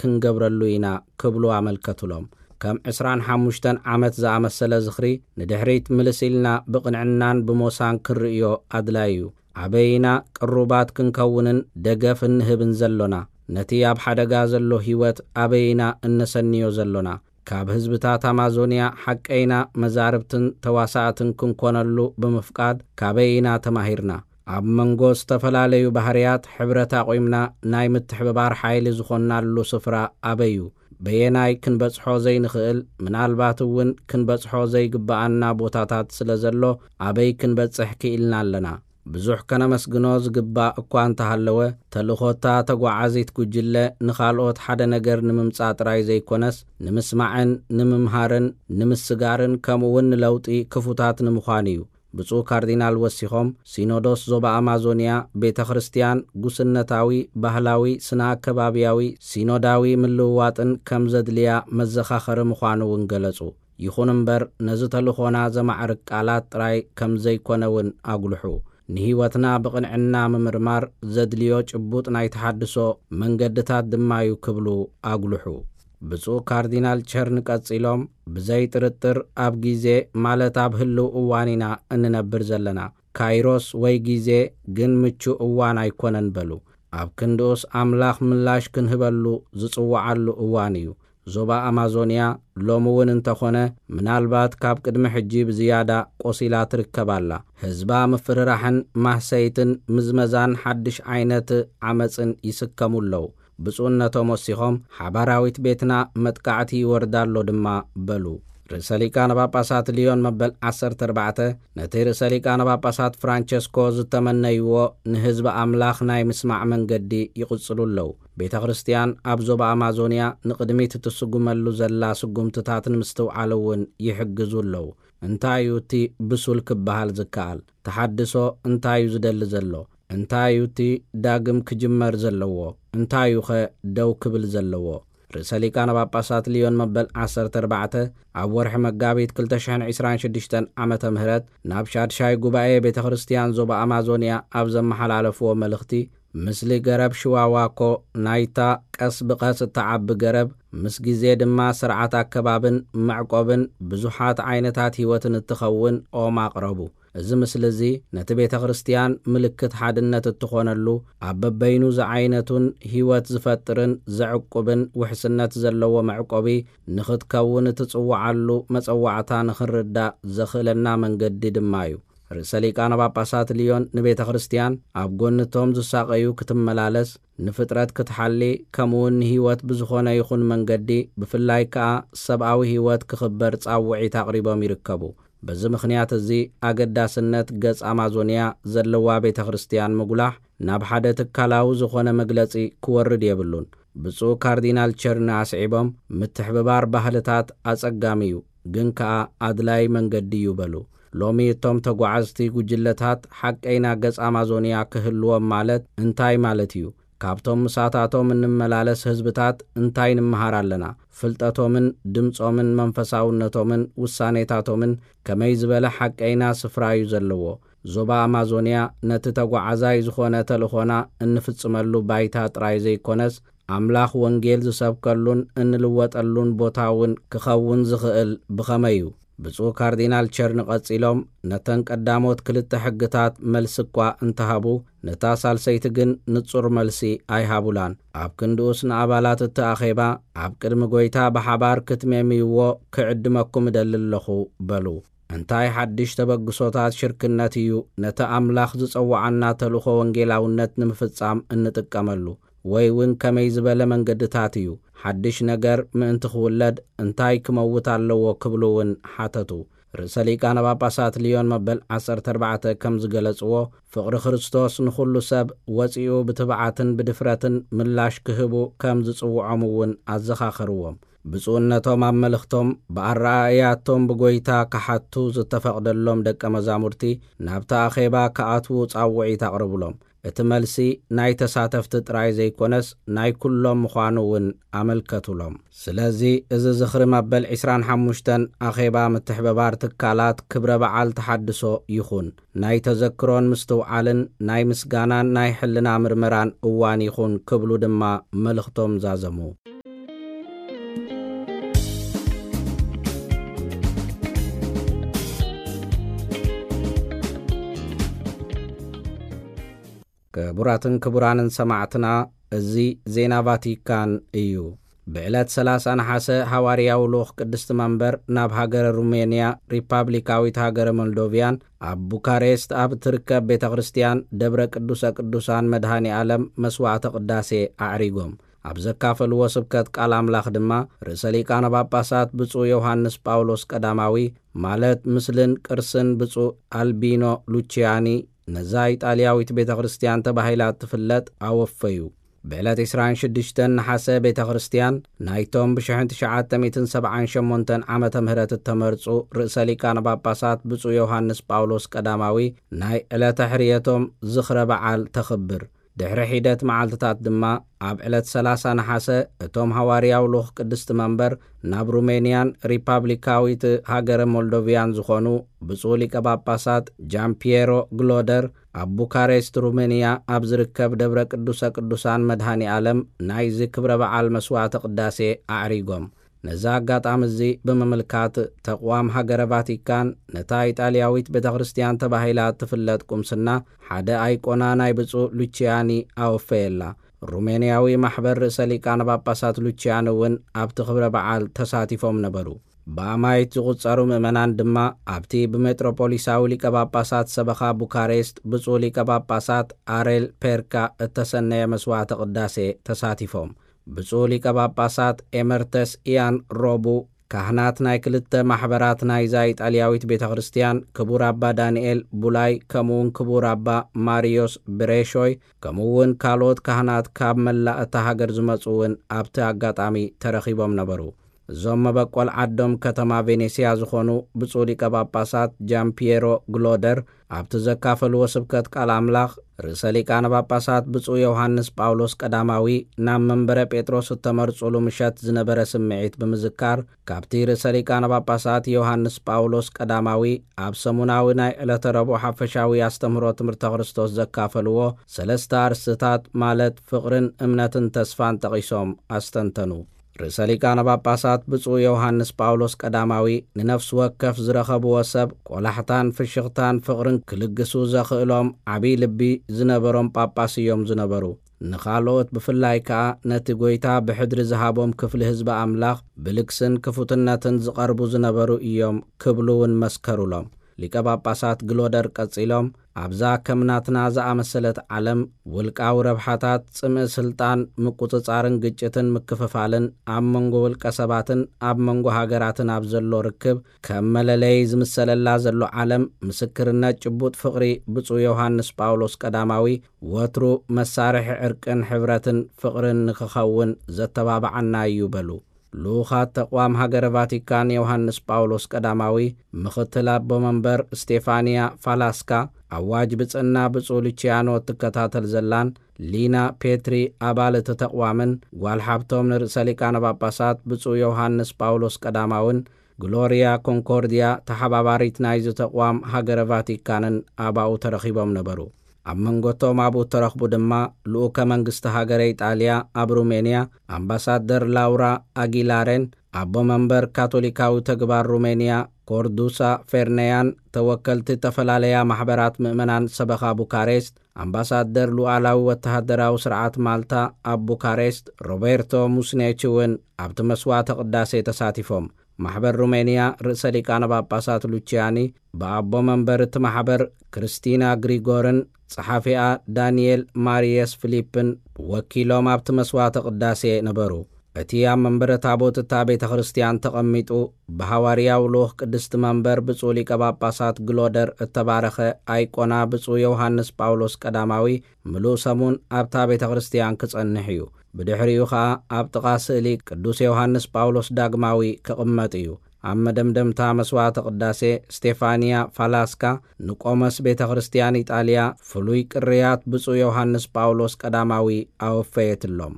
ክንገብረሉ ኢና ክብሉ ኣመልከቱሎም። ከም ዕስራን ሓሙሽተን ዓመት ዝኣመሰለ ዝኽሪ ንድሕሪት ምልስ ኢልና ብቕንዕናን ብሞሳን ክንርእዮ ኣድላዩ እዩ። ኣበይ ኢና ቅሩባት ክንከውንን ደገፍ እንህብን ዘሎና? ነቲ ኣብ ሓደጋ ዘሎ ህይወት ኣበይ ኢና እነሰንዮ ዘሎና? ካብ ህዝብታት ኣማዞንያ ሓቀይና መዛርብትን ተዋሳእትን ክንኮነሉ ብምፍቃድ ካበይ ኢና ተማሂርና? ኣብ መንጎ ዝተፈላለዩ ባህርያት ሕብረት ኣቑምና ናይ ምትሕብባር ሓይሊ ዝኾንናሉ ስፍራ ኣበይ እዩ? በየናይ ክንበጽሖ ዘይንኽእል፣ ምናልባት እውን ክንበጽሖ ዘይግብኣና ቦታታት ስለ ዘሎ ኣበይ ክንበጽሕ ክኢልና ኣለና? ብዙሕ ከነመስግኖ ዝግባእ እኳ እንተሃለወ፣ ተልእኾታ ተጓዓዚት ጉጅለ ንኻልኦት ሓደ ነገር ንምምጻእ ጥራይ ዘይኮነስ፣ ንምስማዕን ንምምሃርን ንምስጋርን ከምኡውን ንለውጢ ክፉታት ንምዃን እዩ። ብፁዕ ካርዲናል ወሲኾም፣ ሲኖዶስ ዞባ ኣማዞንያ ቤተ ክርስቲያን ጉስነታዊ፣ ባህላዊ፣ ስነ ኣከባብያዊ፣ ሲኖዳዊ ምልውዋጥን ከም ዘድልያ መዘኻኸሪ ምዃኑ እውን ገለጹ። ይኹን እምበር፣ ነዚ ተልእኾና ዘማዕርግ ቃላት ጥራይ ከም ዘይኮነ እውን ኣጉልሑ። ንህይወትና ብቕንዕና ምምርማር ዘድልዮ ጭቡጥ ናይ ተሓድሶ መንገድታት ድማ እዩ ክብሉ ኣጉልሑ። ብፁዕ ካርዲናል ቸርን ቀጺሎም፣ ብዘይ ጥርጥር ኣብ ግዜ፣ ማለት ኣብ ህልው እዋን ኢና እንነብር ዘለና። ካይሮስ ወይ ግዜ ግን ምቹእ እዋን ኣይኮነን በሉ። ኣብ ክንድኡስ ኣምላኽ ምላሽ ክንህበሉ ዝጽውዓሉ እዋን እዩ። ዞባ ኣማዞንያ ሎሚ እውን እንተኾነ፣ ምናልባት ካብ ቅድሚ ሕጂ ብዝያዳ ቆሲላ ትርከብ ኣላ። ህዝባ ምፍርራሕን ማህሰይትን ምዝመዛን ሓድሽ ዓይነት ዓመጽን ይስከሙ ኣለዉ። ብፁዕነቶም ወሲኾም፣ ሓባራዊት ቤትና መጥቃዕቲ ይወርዳ ኣሎ ድማ በሉ። ርእሰ ሊቃነ ጳጳሳት ልዮን መበል ዓሰርተ ኣርባዕተ ነቲ ርእሰ ሊቃነ ጳጳሳት ፍራንቸስኮ ዝተመነይዎ ንህዝቢ ኣምላኽ ናይ ምስማዕ መንገዲ ይቕጽሉ ኣለዉ። ቤተ ክርስቲያን ኣብ ዞባ ኣማዞንያ ንቕድሚት እትስጉመሉ ዘላ ስጉምትታት ንምስትውዓል እውን ይሕግዙ ኣለዉ። እንታይ እዩ እቲ ብሱል ክበሃል ዝከኣል? ተሓድሶ እንታይ እዩ ዝደሊ ዘሎ? እንታይ እዩ እቲ ዳግም ክጅመር ዘለዎ? እንታይ እዩኸ ደው ክብል ዘለዎ? ርእሰ ሊቃነ ጳጳሳት ልዮን መበል ዓሰርተ ኣርባዕተ ኣብ ወርሒ መጋቢት ክልተ ሽሕን ዕስራን ሽዱሽተን ዓመተ ምህረት ናብ ሻድሻይ ጉባኤ ቤተ ክርስቲያን ዞባ ኣማዞንያ ኣብ ዘመሓላለፍዎ መልእኽቲ፣ "ምስሊ ገረብ ሽዋዋ እኮ ናይታ ቀስ ብቐስ እትዓቢ ገረብ፣ ምስ ግዜ ድማ ስርዓት ኣከባብን መዕቆብን ብዙሓት ዓይነታት ህይወትን እትኸውን ኦም ኣቕረቡ። እዚ ምስሊ እዚ ነቲ ቤተ ክርስቲያን ምልክት ሓድነት እትኾነሉ፣ ኣብ በበይኑ ዝዓይነቱን ህይወት ዝፈጥርን ዘዕቁብን ውሕስነት ዘለዎ መዕቆቢ ንኽትከውን እትጽውዓሉ መጸዋዕታ ንኽንርዳእ ዘኽእለና መንገዲ ድማ እዩ።" ርእሰ ሊቃነ ጳጳሳት ልዮን ንቤተ ክርስቲያን ኣብ ጎንቶም ዝሳቐዩ ክትመላለስ፣ ንፍጥረት ክትሓሊ፣ ከምኡውን ንህይወት ብዝኾነ ይኹን መንገዲ፣ ብፍላይ ከኣ ሰብኣዊ ህይወት ክኽበር ጻውዒት ኣቕሪቦም ይርከቡ። በዚ ምኽንያት እዚ ኣገዳስነት ገጽ ኣማዞንያ ዘለዋ ቤተ ክርስቲያን ምጉላሕ ናብ ሓደ ትካላዊ ዝኾነ መግለጺ ክወርድ የብሉን። ብፁዕ ካርዲናል ቸርኒ ኣስዒቦም፣ ምትሕብባር ባህልታት ኣጸጋሚ እዩ፣ ግን ከኣ ኣድላይ መንገዲ እዩ በሉ። ሎሚ እቶም ተጓዓዝቲ ጉጅለታት ሓቀይና ገጽ ኣማዞንያ ክህልዎም ማለት እንታይ ማለት እዩ? ካብቶም ምሳታቶም እንመላለስ ህዝብታት እንታይ ንምሃር ኣለና? ፍልጠቶምን ድምጾምን መንፈሳውነቶምን ውሳኔታቶምን ከመይ ዝበለ ሓቀይና ስፍራ እዩ ዘለዎ? ዞባ ኣማዞንያ ነቲ ተጓዓዛይ ዝኾነ ተልእኾና እንፍጽመሉ ባይታ ጥራይ ዘይኮነስ፣ ኣምላኽ ወንጌል ዝሰብከሉን እንልወጠሉን ቦታ እውን ክኸውን ዝኽእል ብኸመይ እዩ? ብፁዕ ካርዲናል ቸርኒ ቀጺሎም፣ ነተን ቀዳሞት ክልተ ሕግታት መልሲ እኳ እንተሃቡ፣ ነታ ሳልሰይቲ ግን ንጹር መልሲ ኣይሃቡላን። ኣብ ክንድኡስ ንኣባላት እቲ ኣኼባ፣ ኣብ ቅድሚ ጐይታ ብሓባር ክትሜምይዎ ክዕድመኩም እደሊ ኣለኹ በሉ። እንታይ ሓድሽ ተበግሶታት ሽርክነት እዩ ነቲ ኣምላኽ ዝጸውዓና ተልእኾ ወንጌላውነት ንምፍጻም እንጥቀመሉ? ወይ እውን ከመይ ዝበለ መንገድታት እዩ ሓድሽ ነገር ምእንቲ ክውለድ እንታይ ክመውት ኣለዎ ክብሉ እውን ሓተቱ። ርእሰ ሊቃነ ጳጳሳት ልዮን መበል ዓሰርተ ኣርባዕተ ከም ዝገለጽዎ፣ ፍቕሪ ክርስቶስ ንኹሉ ሰብ ወጺኡ ብትብዓትን ብድፍረትን ምላሽ ክህቡ ከም ዝጽውዖም እውን ኣዘኻኸርዎም። ብፁዕነቶም ኣብ መልእኽቶም፣ ብኣረኣእያቶም ብጎይታ ክሓቱ ዝተፈቕደሎም ደቀ መዛሙርቲ ናብቲ ኣኼባ ክኣትዉ ጻውዒት ኣቕርብሎም። እቲ መልሲ ናይ ተሳተፍቲ ጥራይ ዘይኮነስ ናይ ኩሎም ምዃኑ እውን ኣመልከቱሎም። ስለዚ እዚ ዝኽሪ መበል ዕስራን ሓሙሽተን ኣኼባ ምትሕብባር ትካላት ክብረ በዓል ተሓድሶ ይኹን። ናይ ተዘክሮን ምስትውዓልን ናይ ምስጋናን ናይ ሕልና ምርመራን እዋን ይኹን ክብሉ ድማ መልእኽቶም ዛዘሙ። ክቡራትን ክቡራንን ሰማዕትና፣ እዚ ዜና ቫቲካን እዩ። ብዕለት ሰላሳ ነሓሰ፣ ሃዋርያዊ ልኡኽ ቅድስቲ መንበር ናብ ሃገረ ሩሜንያ ሪፓብሊካዊት ሃገረ ሞልዶቪያን ኣብ ቡካሬስት ኣብ እትርከብ ቤተ ክርስቲያን ደብረ ቅዱሰ ቅዱሳን መድኃኔ ዓለም መስዋዕተ ቅዳሴ ኣዕሪጎም። ኣብ ዘካፈልዎ ስብከት ቃል ኣምላኽ ድማ፣ ርእሰ ሊቃነ ጳጳሳት ብፁዕ ዮሃንስ ጳውሎስ ቀዳማዊ፣ ማለት ምስልን ቅርስን ብፁዕ ኣልቢኖ ሉቺያኒ፣ ነዛ ኢጣልያዊት ቤተ ክርስቲያን ተባሂላ እትፍለጥ ኣወፈዩ። ብዕለት ዕስራን ሽዱሽተን ነሓሰ፣ ቤተ ክርስቲያን ናይቶም ብሽሕን ትሽዓተ ሚእትን ሰብዓን ሸሞንተን ዓመተ ምህረት እተመርጹ ርእሰ ሊቃነ ጳጳሳት ብፁዕ ዮሃንስ ጳውሎስ ቀዳማዊ ናይ ዕለተ ሕርየቶም ዝኽረ በዓል ተኽብር። ድሕሪ ሒደት መዓልትታት ድማ፣ ኣብ ዕለት ሰላሳ ነሓሰ፣ እቶም ሃዋርያዊ ልኡኽ ቅድስቲ መንበር ናብ ሩሜንያን ሪፓብሊካዊት ሃገረ ሞልዶቪያን ዝኾኑ ብፁዕ ሊቀ ጳጳሳት ጃምፒየሮ ግሎደር፣ ኣብ ቡካሬስት ሩሜንያ ኣብ ዝርከብ ደብረ ቅዱሰ ቅዱሳን መድኃኔ ዓለም ናይዚ ክብረ በዓል መስዋዕተ ቅዳሴ ኣዕሪጎም። ነዚ ኣጋጣሚ እዚ ብምምልካት፣ ተቕዋም ሃገረ ቫቲካን ነታ ኢጣልያዊት ቤተ ክርስቲያን ተባሂላ እትፍለጥ ቁምስና ሓደ ኣይቆና ናይ ብፁዕ ሉቺያኒ ኣወፈየላ። ሩሜንያዊ ማሕበር ርእሰ ሊቃነ ጳጳሳት ሉቺያኒ እውን ኣብቲ ክብረ በዓል ተሳቲፎም ነበሩ። ብኣማይት ዝቑጸሩ ምእመናን ድማ ኣብቲ ብሜጥሮፖሊሳዊ ሊቀ ጳጳሳት ሰበኻ ቡካሬስት ብፁዕ ሊቀ ጳጳሳት ኣሬል ፔርካ እተሰነየ መስዋዕተ ቅዳሴ ተሳቲፎም። ብፁዕ ሊቀ ጳጳሳት ኤመርተስ ኢያን ሮቡ፣ ካህናት ናይ ክልተ ማሕበራት ናይዛ ኢጣልያዊት ቤተ ክርስቲያን፣ ክቡር ኣባ ዳንኤል ቡላይ፣ ከምኡውን ክቡር ኣባ ማሪዮስ ብሬሾይ፣ ከምኡውን ካልኦት ካህናት ካብ መላእ እታ ሃገር ዝመጹ እውን ኣብቲ ኣጋጣሚ ተረኺቦም ነበሩ። እዞም መበቆል ዓዶም ከተማ ቬኔስያ ዝኾኑ ብፁዕ ሊቀ ጳጳሳት ጃምፒየሮ ግሎደር፣ ኣብቲ ዘካፈልዎ ስብከት ቃል ኣምላኽ፣ ርእሰ ሊቃነ ጳጳሳት ብፁዕ ዮሃንስ ጳውሎስ ቀዳማዊ ናብ መንበረ ጴጥሮስ እተመርጹሉ ምሸት ዝነበረ ስምዒት ብምዝካር፣ ካብቲ ርእሰ ሊቃነ ጳጳሳት ዮሃንስ ጳውሎስ ቀዳማዊ ኣብ ሰሙናዊ ናይ ዕለተ ረቡዕ ሓፈሻዊ ኣስተምህሮ ትምህርተ ክርስቶስ ዘካፈልዎ ሰለስተ ኣርእስትታት፣ ማለት ፍቕርን እምነትን ተስፋን ጠቒሶም ኣስተንተኑ። ርእሰ ሊቃነ ጳጳሳት ብፁዕ ዮሃንስ ጳውሎስ ቀዳማዊ፣ ንነፍሲ ወከፍ ዝረኸብዎ ሰብ ቆላሕታን ፍሽኽታን ፍቕርን ክልግሱ ዘኽእሎም ዓብዪ ልቢ ዝነበሮም ጳጳስ እዮም ዝነበሩ። ንኻልኦት፣ ብፍላይ ከኣ ነቲ ጐይታ ብሕድሪ ዝሃቦም ክፍሊ ህዝቢ ኣምላኽ፣ ብልግስን ክፉትነትን ዝቐርቡ ዝነበሩ እዮም ክብሉ እውን መስከሩሎም። ሊቀ ጳጳሳት ግሎደር ቀጺሎም፣ ኣብዛ ከም ናትና ዝኣመሰለት ዓለም፣ ውልቃዊ ረብሓታት፣ ጽምኢ ስልጣን፣ ምቁጽጻርን ግጭትን ምክፍፋልን ኣብ መንጎ ውልቀ ሰባትን ኣብ መንጎ ሃገራትን ኣብ ዘሎ ርክብ ከም መለለዪ ዝምሰለላ ዘሎ ዓለም፣ ምስክርነት ጭቡጥ ፍቕሪ ብፁዕ ዮሃንስ ጳውሎስ ቀዳማዊ ወትሩ መሳርሒ ዕርቅን ሕብረትን ፍቕርን ንክኸውን ዘተባብዓና እዩ በሉ። ልኡኻት ተቕዋም ሃገረ ቫቲካን ዮሃንስ ጳውሎስ ቀዳማዊ፣ ምኽትል ኣቦ መንበር ስቴፋንያ ፋላስካ፣ ኣዋጅ ብጽና ብፁዕ ሉቺያኖ እትከታተል ዘላን ሊና ፔትሪ፣ ኣባል እቲ ተቕዋምን ጓል ሓብቶም ንርእሰ ሊቃነ ጳጳሳት ብፁዕ ዮሃንስ ጳውሎስ ቀዳማውን ግሎሪያ ኮንኮርዲያ፣ ተሓባባሪት ናይዚ ተቕዋም ሃገረ ቫቲካንን ኣባኡ ተረኺቦም ነበሩ። ኣብ መንጎቶም ኣብኡ እተረኽቡ ድማ፣ ልኡከ መንግስቲ ሃገረ ኢጣልያ ኣብ ሩሜንያ ኣምባሳደር ላውራ ኣጊላሬን፣ ኣቦ መንበር ካቶሊካዊ ተግባር ሩሜንያ ኮርዱሳ ፌርነያን፣ ተወከልቲ ዝተፈላለያ ማሕበራት ምእመናን ሰበኻ ቡካሬስት፣ ኣምባሳደር ሉዓላዊ ወተሃደራዊ ስርዓት ማልታ ኣብ ቡካሬስት ሮቤርቶ ሙስኔች እውን ኣብቲ መስዋዕተ ቅዳሴ ተሳቲፎም። ማሕበር ሩሜንያ ርእሰ ሊቃነ ጳጳሳት ሉቺያኒ ብኣቦ መንበር እቲ ማሕበር ክርስቲና ግሪጎርን ጸሓፊኣ ዳንኤል ማሪየስ ፊሊፕን ወኪሎም ኣብቲ መስዋዕተ ቅዳሴ ነበሩ። እቲ ኣብ መንበረ ታቦት እታ ቤተ ክርስቲያን ተቐሚጡ ብሃዋርያዊ ልኡኽ ቅድስቲ መንበር ብፁዕ ሊቀ ጳጳሳት ግሎደር እተባረኸ ኣይቆና ብፁዕ ዮሃንስ ጳውሎስ ቀዳማዊ ምሉእ ሰሙን ኣብታ ቤተ ክርስቲያን ክጸንሕ እዩ። ብድሕሪኡ ኸኣ ኣብ ጥቓ ስእሊ ቅዱስ ዮሃንስ ጳውሎስ ዳግማዊ ክቕመጥ እዩ። ኣብ መደምደምታ መስዋዕተ ቅዳሴ፣ ስቴፋንያ ፋላስካ ንቆመስ ቤተ ክርስቲያን ኢጣልያ ፍሉይ ቅርያት ብፁዕ ዮሃንስ ጳውሎስ ቀዳማዊ ኣወፈየትሎም።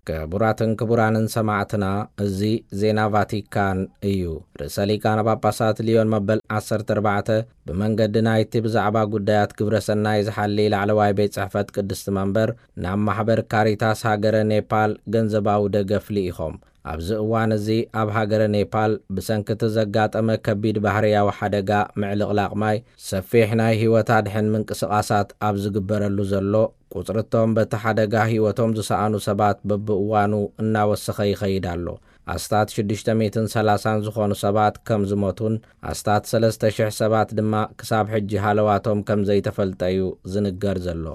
ክቡራትን ክቡራንን ሰማዕትና፣ እዚ ዜና ቫቲካን እዩ። ርእሰ ሊቃነ ጳጳሳት ሊዮን መበል ዓሰርተ ኣርባዕተ ብመንገዲ ናይቲ ብዛዕባ ጉዳያት ግብረ ሰናይ ዝሓሊ ላዕለዋይ ቤት ጽሕፈት ቅድስቲ መንበር ናብ ማሕበር ካሪታስ ሃገረ ኔፓል ገንዘባዊ ደገፍ ልኢኾም። ኣብዚ እዋን እዚ ኣብ ሃገረ ኔፓል ብሰንኪ እቲ ዘጋጠመ ከቢድ ባህርያዊ ሓደጋ ምዕልቕላቕ ማይ ሰፊሕ ናይ ህይወት ኣድሕን ምንቅስቓሳት ኣብ ዝግበረሉ ዘሎ፣ ቁጽሪ እቶም በቲ ሓደጋ ህይወቶም ዝሰኣኑ ሰባት በብእዋኑ እናወሰኸ ይኸይድ ኣሎ። ኣስታት ሽዱሽተ ሚእትን ሰላሳን ዝኾኑ ሰባት ከም ዝሞቱን ኣስታት ሰለስተ ሽሕ ሰባት ድማ ክሳብ ሕጂ ሃለዋቶም ከም ዘይተፈልጠ እዩ ዝንገር ዘሎ።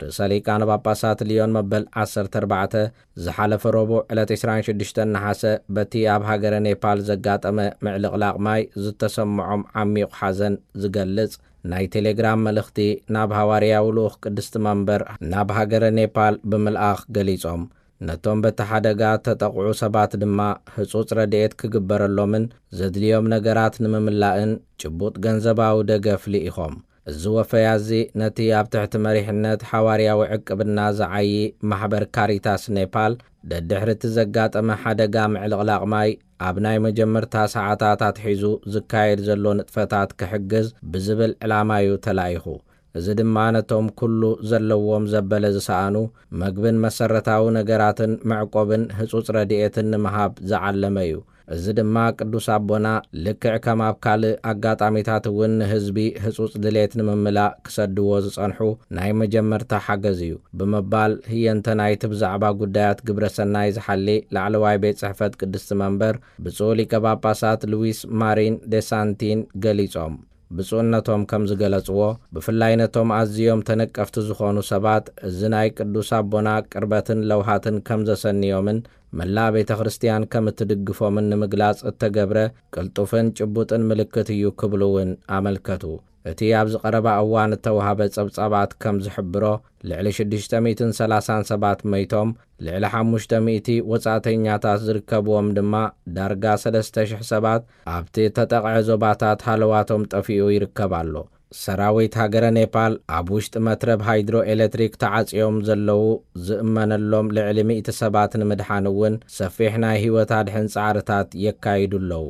ርእሰ ሊቃነ ጳጳሳት ልዮን መበል ዓሰርተ ኣርባዕተ ዝሓለፈ ረቡዕ ዕለት ዕስራን ሽዱሽተን ነሓሰ በቲ ኣብ ሃገረ ኔፓል ዘጋጠመ ምዕልቕላቕ ማይ ዝተሰምዖም ዓሚቕ ሓዘን ዝገልጽ ናይ ቴሌግራም መልእኽቲ ናብ ሃዋርያዊ ልኡኽ ቅድስቲ መንበር ናብ ሃገረ ኔፓል ብምልኣኽ ገሊጾም። ነቶም በቲ ሓደጋ ተጠቕዑ ሰባት ድማ ህጹጽ ረድኤት ክግበረሎምን ዘድልዮም ነገራት ንምምላእን ጭቡጥ ገንዘባዊ ደገፍ ልኢኾም። እዚ ወፈያ እዚ ነቲ ኣብ ትሕቲ መሪሕነት ሓዋርያዊ ዕቅብና ዝዓዪ ማሕበር ካሪታስ ኔፓል ደድሕሪ እቲ ዘጋጠመ ሓደጋ ምዕልቕላቕ ማይ ኣብ ናይ መጀመርታ ሰዓታት ኣትሒዙ ዝካየድ ዘሎ ንጥፈታት ክሕግዝ ብዝብል ዕላማ እዩ ተላኢኹ። እዚ ድማ ነቶም ኩሉ ዘለዎም ዘበለ ዝሰኣኑ መግብን መሰረታዊ ነገራትን መዕቆብን ህጹጽ ረድኤትን ንምሃብ ዝዓለመ እዩ። እዚ ድማ ቅዱስ ኣቦና ልክዕ ከም ኣብ ካልእ ኣጋጣሚታት እውን ንህዝቢ ህጹጽ ድሌት ንምምላእ ክሰድዎ ዝጸንሑ ናይ መጀመርታ ሓገዝ እዩ ብምባል ህየንተ ናይቲ ብዛዕባ ጉዳያት ግብረ ሰናይ ዝሓሊ ላዕለዋይ ቤት ጽሕፈት ቅድስቲ መንበር ብፁዕ ሊቀ ጳጳሳት ሉዊስ ማሪን ዴሳንቲን ገሊጾም። ብፁዕነቶም ከም ዝገለጽዎ፣ ብፍላይ ነቶም ኣዝዮም ተነቀፍቲ ዝኾኑ ሰባት እዚ ናይ ቅዱስ ኣቦና ቅርበትን ለውሃትን ከም ዘሰንዮምን መላእ ቤተ ክርስቲያን ከም እትድግፎምን ንምግላጽ እተገብረ ቅልጡፍን ጭቡጥን ምልክት እዩ ክብሉ እውን ኣመልከቱ። እቲ ኣብዚ ቀረባ እዋን እተዋህበ ጸብጻባት ከም ዝሕብሮ፣ ልዕሊ ሽዱሽተ ሚእትን ሰላሳን ሰባት መይቶም፣ ልዕሊ ሓሙሽተ ሚእቲ ወጻእተኛታት ዝርከብዎም ድማ ዳርጋ ሰለስተ ሽሕ ሰባት ኣብቲ ተጠቕዐ ዞባታት ሃለዋቶም ጠፊኡ ይርከብ ኣሎ። ሰራዊት ሃገረ ኔፓል ኣብ ውሽጢ መትረብ ሃይድሮ ኤሌክትሪክ ተዓጽዮም ዘለዉ ዝእመነሎም ልዕሊ ሚእቲ ሰባት ንምድሓን እውን ሰፊሕ ናይ ህይወት ኣድሕን ጻዕርታት የካይዱ ኣለዉ።